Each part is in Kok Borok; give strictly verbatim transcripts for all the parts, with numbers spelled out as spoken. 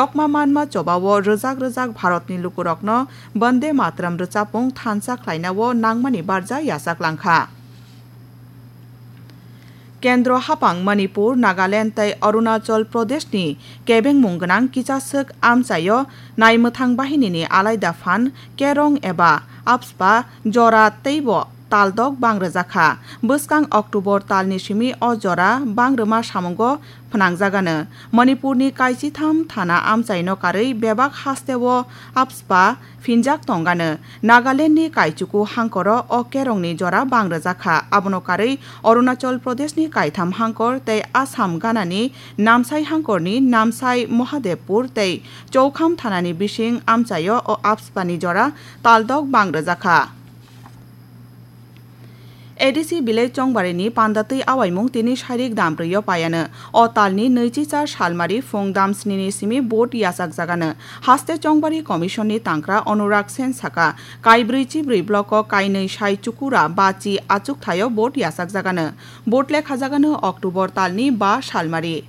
Kokma manma chobao rwjak rwjak Bharatni lukurokno Bande Mataram rwchapmung thansa khlainao nangmani barja yachak langkha. Kendro hapang Manipur, Nagaland tei Arunachal Pradeshni kebengmung gwnang kichaswk amchaio naimwthang bahinini alaida phan kerong eba AFSPA jora teibo taldok bang rwjakha. Bwskang October talni simi o jora bang rwma samungo phnangjagano. Manipurni kaisitham thana amchaino karwi bebak hasteo AFSPA phinjak tongano. Nagalandni Kaichuku hangkoro o kerongni jora bang rwjakha. Abono karwi Arunachal Pradeshni kaitham hangkor tei Assam ganani Namsai hangkorni Namsai Mahadevpur tei Choukham thanani bising amchaio o AFSPA ni jora taldok bang rwjakha. A D C village Chongbarini panda twi awaimung tini sairik dam brwi o paiano. O talni nwichi char salmari phung dam snini simi vote yachakjagano. Haste Chongbari Commission ni tangkra Anurag Sen saka, kaibrwi chibrwi block o kainwi sai chukura ba chi achukthai o vote yachakjagano. Vote lekhajagano October talni ba salmari.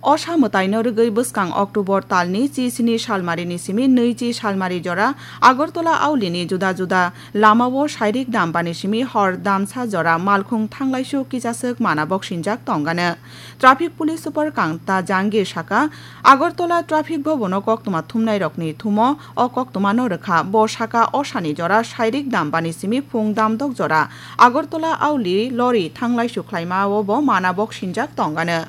Osa mwtaino rwgwi bwskang October talni chi sini salmarini simi nwichi salmari jora Agartala aulini juda juda lamao sairik dam bani simi hor damsa jora malkhung thanglaisu kichaswk mana boksinjak tongano. Traffic Police Super Kanta Jangir saka, Agartala Traffic Bhabono koktwma thumnairokni thumo o koktwmano rwkha. Bo saka osani jora sairik dam bani simi phung damdok jora Agartala auli lori thanglaisu khlaimao bo mana boksinjak tongano.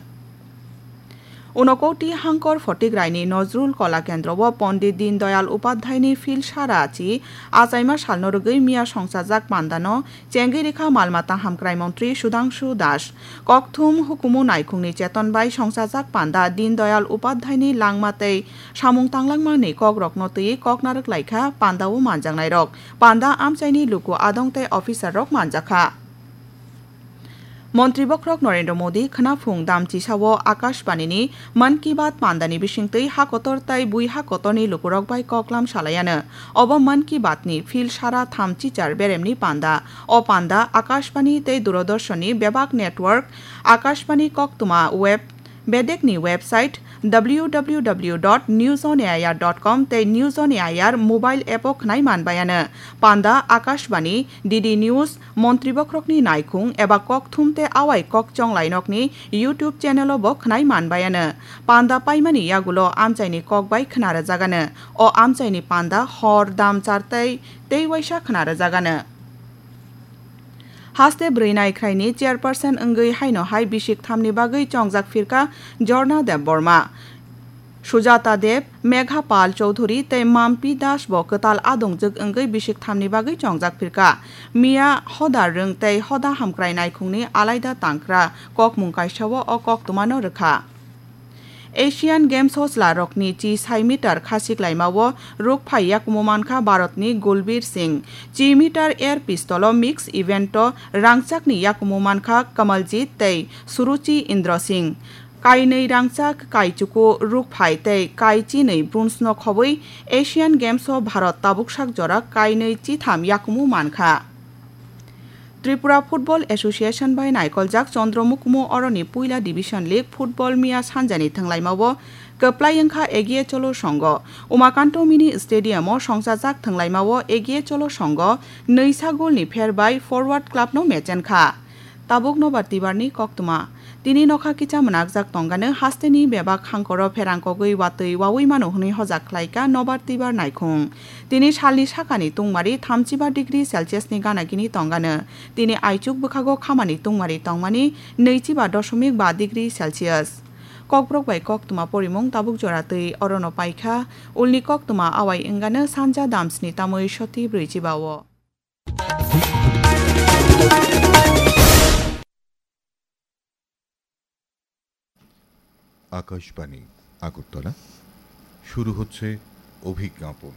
Unakoti hangkor Photigraini Nojrul Kola Kendro o Pondit Din Dayal Upadhyayni Philsara chi achaima salno rwgwi miya songchajak pandano chengwi rikha mal mata hamkrai montri Sudhangshu Das. Kokthum hukumu naikhungni cheton bai songchajak panda Din Dayal Upadhyayni langma tei samung tanglangmani kokrokno twiwi kok narwk laikha pandao manjaknairok. Panda amchaini luku adong tei officerrok manjakha. Montri bokhorok Narendra Modi khwnaphung dam chisao Akashbanini Mann Ki Baat pandani bisingtwi ha kotor tai bui ha kotorni lukurok bai koklam salaiano. Obo Mann Ki Baatni Philsara thamchi char beremni panda. O panda Akashbani tei Doordarshanni bebak network, Akashbani koktwma web, bedekni website W W W dot news on A I R dot com tei News on A I R mobile app o khwnai manbaiano. Panda Akashbani, D D News, Montri bokhorokni naikhung eba kokthum tei awai kok chonglainokni YouTube channel o bo khwnai manbaiano. Panda paimani yagulo amchaini kok bai khwnarwjagano. O amchaini panda hor dam chartai tei waisa khwnarwjagano. Haste bwrwi naikhraini chairperson wngwi haino hai bisik thamni bagwi chongjak phirkha Jorna Debbarma. Sujata Deb, Megha Pal Chowdhury tei Mampi Das bo kwtal adongjwk wngwi bisik thamni bagwi chongjak phirkha. Miya hoda rwng tei hoda hamkrai naikhungni alaida tangkra kokmung kaisao o koktwmano rwkha. Asian Games o chwlarokni chi sai meter khasik laimao rukphai yakumu mankha Bharatni Gulbir Singh. Chi meter air pistol o mix event o rangchakni yakumu mankha Kamaljit tei Suruchi Indra Singh. Kainwi rangchak kaichuku rukphai tei kai chinwi bronze no khobwi Asian Games o Bharat tabuksak jora kainwi chitham yakumu mankha. Tripura Football Association bai naikoljak Chandra Mukumu oroni puila Division League football miya sanjani thwnglaimao kwplai wngkha Egiye Cholo Songho. Umakanto Mini Stadium o songchajak thwnglaimao Egiye Cholo Songho nwisa golni pher bai Forward Club no mechenkha. Tabuk nobar tibarni koktwma. Tini nokha kicha mwnakjak tongano hasteni bebak hangkoro pherang kogwi watwi wawi mano hwnwi hojak khlaika nobar tibar naikhung. Tini salni sakani tungmari thamchiba degree Celsius ni gana gini tongano. Tini aichuk bwkhago khamani tungmari tongmani nwichiba dosomik ba degree Celsius. Kokborok bai koktwma porimung tabuk jora twi orono paikha. Ulni koktwma awai wngano sanja damsni tamwi soti brwichiba o. Akashvani, আগরতলা। শুরু হচ্ছে অভিজ্ঞাপন।